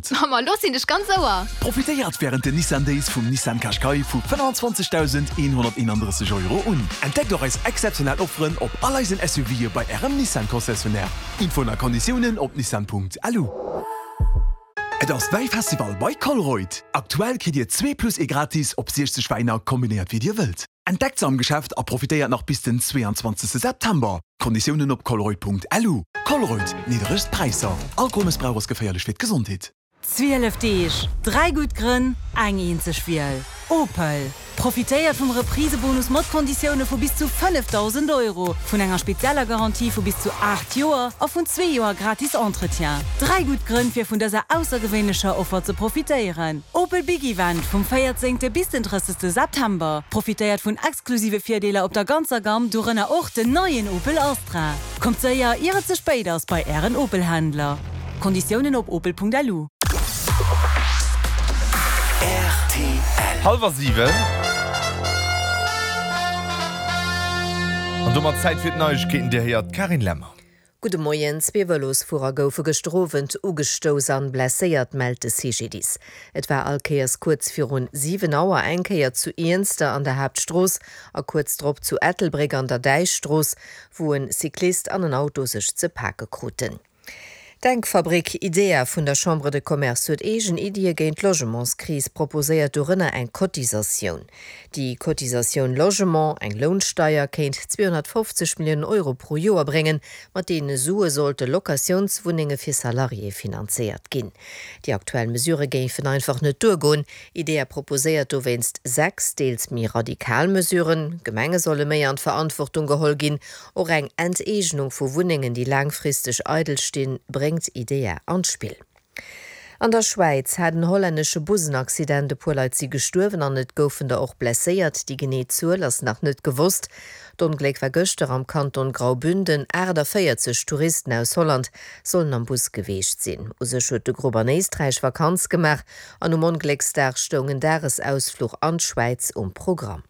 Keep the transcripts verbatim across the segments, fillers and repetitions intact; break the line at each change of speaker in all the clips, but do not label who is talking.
sollt.
Ma lo sinn ech ganz Ouer!
Profitéiert wärend den Nissan Days vum Nissan Qashqai vu fënnwanzwanzegdausendeenhonnerteenandrësseg Euro un. Entdeckt och eis exzeptionell Offeren op all eisen SUVe bei Ärem Nissan Concessionnaire. Infoen a Konditiounen op nissan Punkt L U. Et ass Wäifestival bei Colruyt! Aktuell kritt Dir zwee plus ee gratis op siechzeg Wäiner, kombinéiert wéi Dir wëllt. Entdeckt se am Geschäft a profitéiert nach bis den zweeanzwanzegste September. Konditiounen op colruyt Punkt L U. Colruyt, niddregst Präisser. Alkoholmëssbrauch ass geféierlech fir d'Gesondheet.
Zwielef Deeg, dräi gutt Grënn, eng eenzeg Wiel. Opel. Profitéiert vum Reprisebonus mat Konditioune vu bis zu fënnefdausend Euro, vun enger spezieller Garantie vu bis zu aacht Joer a vun zwee Joer gratis Entretien. Dräi gutt Grënn fir vun dëser aussergewéinlecher Offer ze profitéieren. Opel Big Event vum véierzéngte bis den drëssegste September. Profitéiert vun exklusive Virdeeler op der ganzer Gamm, dorënner och den neien Opel Astra. Kommt séier, ier et ze spéit ass bei Ären Opel-Händler. Konditiounen op opel Punkt L U.
Hallwer siwen. An domat Zäit fir d'Neiegkeeten, Dir héiert d'Carine Lemmer.
Gudde Moien, Zwee Vëlosfuerer goufe gëschter Owend ugestouss an blesséiert, mellt de C G D I S. Et war all Kéiers kuerz virun siwen Auer, eng Kéier zu Iernster an der Haaptstrooss a kuerz drop zu Ettelbréck an der Däichstrooss, wou en Cyclist an en Auto sech ze pake kruten. D'Denkfabrik IDEA vun der Chambre de Commerce huet eegen Iddie géint d'Logementskris proposéiert, dorënner eng Cotisatioun. Déi Cotisatioun Logement, eng Lounsteier, kéint zweehonnertfofzeg Milliounen Euro pro Joer bréngen. Mat deene Sue sollte Locatiounswunnenge fir Salariéë finanzéiert ginn. Déi aktuell Mesurë géifen einfach net duergoen. IDEA proposéiert dowéinst sechs deels méi radikal Mesuren. Gemenge solle méi an d'Verantwortung geholl ginn. Och eng Enteegnung vu Wunnengen, déi laangfristeg eidel stinn, bréngt IDEA an d'Spill. An der Schwäiz hat en hollännesche Bus en Accident, e puer Leit si gestuerwen an et goufen der och blesséiert. Déi genee Zuel ass nach net gewosst. D'Ongléck war gëschter am Kanton Graubünden. achtanvéierzeg Touristen aus Holland sollen am Bus gewiescht sinn. U sech huet de Grupp an Éisträich Vakanz gemaach an um Onglécksdag stoung en Dagesausfluch an d'Schwäiz um Programm.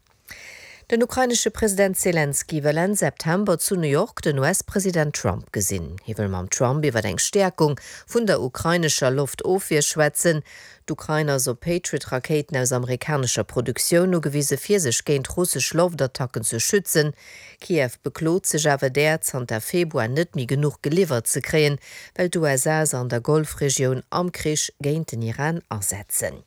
Den ukrainesche President Selenskyj wëll Enn September zu New York den U S-President Trump gesinn. Hie wëll mam Trump iwwer eng Stäerkung vun der ukrainescher Loftofwier schwätzen. D'Ukrain ass op Patriot-Rakéiten aus amerikanescher Produktioun ugewise fir sech géint russesch Loftattacken ze schützen. Kiew beklot sech awer där zanter Februar net méi genuch geliwwert ze kréien, well d'U S A se an der Golfregioun am Krich géint den Iran asetzen.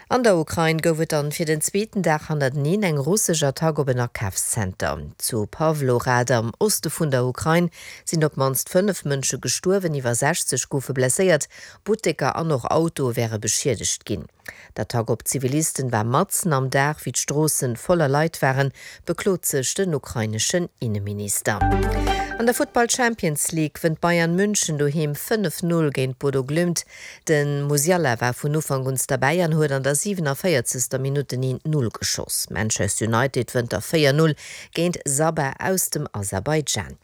An der Ukrain gouf et dann fir den zweeten Dag hannerteneen eng russesch Attack op en Akafszenter. Zu Pawlohrad am Oste vun der Ukrain sinn op d'mannst fënnef Mënsche gestuerwen, iwwer sechzeg goufe blesséiert, Butteker an och Autoe wäre beschiedegt ginn. D'Attack op Zivilisten war matzen am Dag, wéi d'Stroosse voller Leit waren, beklot sech den ukraineschen Inneminister. An der Futtball Champions League wënnt Bayern München doheem fënnef Null géint Bodo Glimt. De Musiala war vun Ufank un derbäi an huet an der siewenanvéierzegster Minutt den een Null geschoss. Manchester United wënnt da véier Null géint Sabah aus dem Aserbaidschan.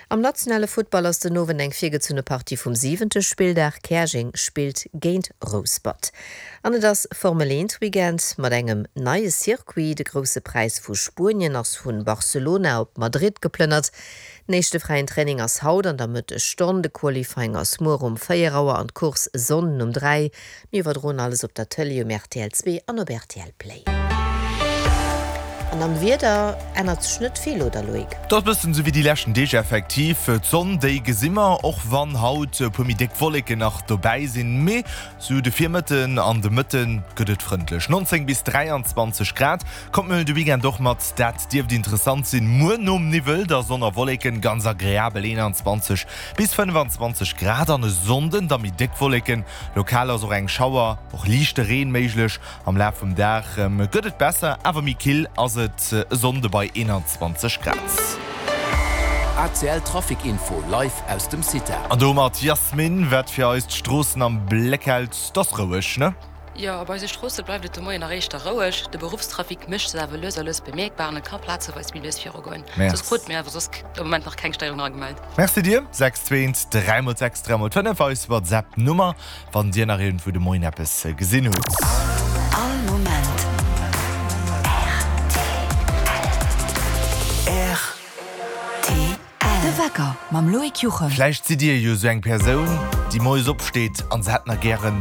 Am nationale Futtball ass den Owend eng virgezunne Partie vum siwente Spilldag, Käerjeng spillt géint Rouspert. An et ass Formel eent Weekend mat engem neie Circuit, de Grousse Präis vu Spuenien ass vu Barcelona op Madrid geplënnert. Den éischte fräien Training ass haut an der Mëttesstonn, de Qualifying ass muer um véier Auer an d'Course e Sonnden um dräi. Mir iwwerdroen alles op der Tëlee um R T L zwee an op R T L Play. An am Wieder ännert sech net vill, oder Loïc?
Dat ass bëssen esou wéi déi leschten Deeg effektiv. D'Sonn déi gesi mer, och wann haut e puer méi déck Wolleken nach dobäi sinn. Mee sou de Virmëtten an de Mëtte gëtt et frëndlech, nonzéng bis dräianzwanzeg Grad. Kommt mir huelen de Weekend och mat, dat dierft interessant sinn. Muer nom Niwwel da Sonn a Wolleken, ganz agreabel eenanzwanzeg bis fënnefanzwanzeg Grad. An e Sonnden da méi déck Wolleken, lokal ass och eng Schauer, och liichte Reen méiglech. Am Laf vum Dag gëtt et besser, awer méi kill ass et e Sonnde bei eenanzwanzeg Grad.
A C L Trafic Info live aus dem Cita.
An domat Jasmin, wat fir eis d'Stroossen am Bléck hält, 't ass roueg, ne?
Jo, op eise Stroosse bleift et de Moien nach éischter roueg. De Beruffstrafic mécht sech awer lues a lues bemierkbar an et ka plazeweis méi lues virugoen. Soss krute mir awer soss de Moment nach keng Stéierung eragemellt.
Merci dir. Sechs zwee eent dräi mol sechs dräi mol fënnef eis WhatsApp Nummer wann dir nach iergendwou de Moien eppes gesinn hutt.
All Moment R T L. De Wecker mam Loïc Juchem.
Vläicht sidd dir jo sou eng Persoun, déi moies opsteet an se hätt nach gären